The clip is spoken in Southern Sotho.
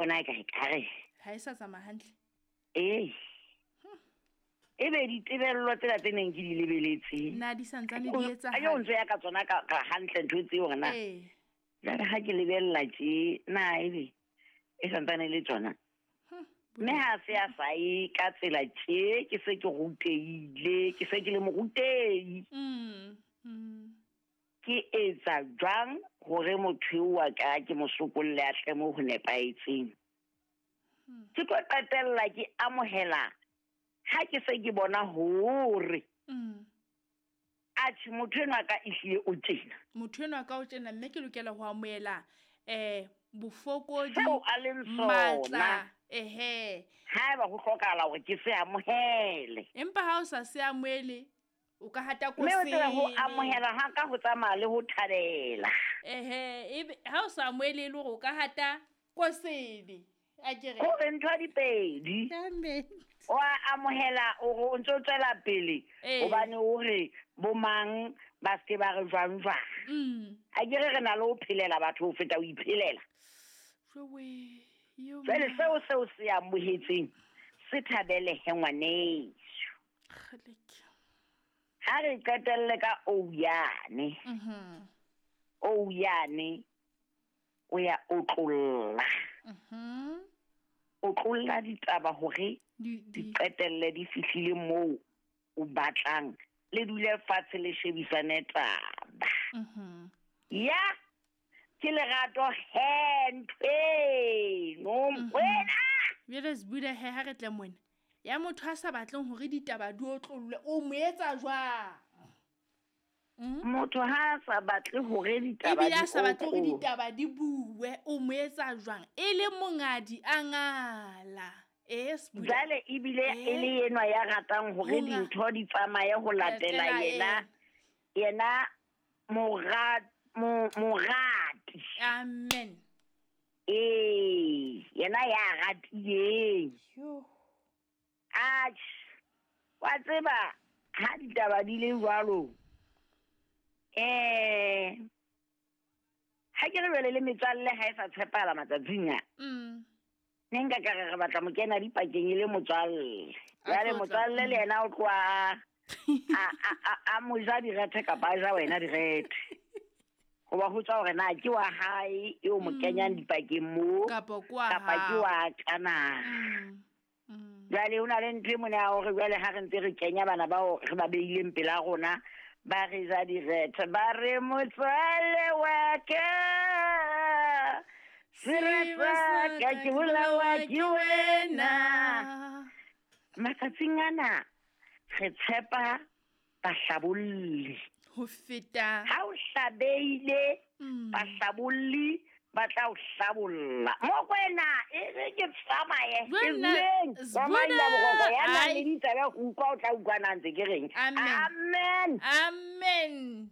Bona e ka ekare Ha e sa tsamaya hantle. Ee. Ebe ditebello tsena tse neng ke di lebeletse. Na di santsane di etsahala? Ayo ntse ya ka tsona ka ka hantle ntho tseo hore na. Ee. Jwale ha ke lebella tje na ebe e santsane le tsona. Mme ha se a sa ye ka tsela tje ke se ke rutehile, ke se ke le morutehi. Ke etsa jwang hore motho eo wa ka ke mo sokolle a tle mo ho nepahetseng? Ke tlo qetella ke amohela ha ke se ke bona hore atjhe motho enwa ka ehlile o tjena. Motho enwa ka o tjena mme ke lokela ho amohela bofokodi, seo a leng sona. Matla, ehe. Haeba ho hlokahala hore ke se amohele. Empa ha o sa se amohele, o ka hata Mme o tsebe ho kosene. amohela ha ka ho tsamaya le ho thabela. Ehe, ebe ha o sa amohele e le hore o ka hata kosene. A ke re. Hore ntho di pedi. Amen. O a amohela hore o ntso tswela pele hobane o re bo mang ba se ba re jwang jwang. A ke re re na le ho phelela batho ho feta ho iphelela. Jwe, yo Jwale ma. seo se amohetseng se thabele he ngwaneso. Kgeleke. Ha re qetelle ka Ouyane. Ouyane o ya otlolla. O tlolla ditaba hore di qetelle di fihlile moo o batlang. Le dule fatshe le shebisane taba. Ya ke lerato he ntho eno, wena. Jwale Sbuda he ha re tle mona. Ya motho a sa batleng hore ditaba di otlollwe, o mo etsa jwang? Motho ha a sa batle hore ditaba Ebile di a sa batle hore otlollwe. ditaba di bue, o mo etsa jwang? E le mongadi a ngala. Sbuda. Jwale ebile e le enwa ya ratang hore Monga. dintho di tsamaye ho latela Latela yena. yena. Yena morati. Amen. Yena ya ratileng. Yo. Atjhe, wa tseba ha ditaba di le jwalo. Ha ke re jwale le metswalle ha e sa tshepahala matsatsing a. Ne nka ka re re batla mo kena dipakeng e le motswalle. A Jwale tlotla. motswalle le yena o tloha a mo ja direthe kapa a ja wena direthe. Hoba ho tswa hore na ke wa hae eo mo kenyang dipakeng moo, Kapa ke wa kapa ke hao. wa ka na. Jwale ho na le ntho e mona ya hore jwale ha re ntse re kenya bana bao re ba beileng pela rona, ba re ja direthe, ba re motswalle wa ka, sera sa ka ke bolawa ke wena. Matsatsing ana re tshepa bahlabolli. Ho feta. Ha o hlabeile, bahlabolli ba tla o hlabolla. Mokwena, e re ke tsamaye, ke Jwale, bueng. Sbuda, Wa maila boroko, ya nang ai. le ditaba ho utlwa, o tla utlwa na ntse ke reng. Amen. Amen. Amen.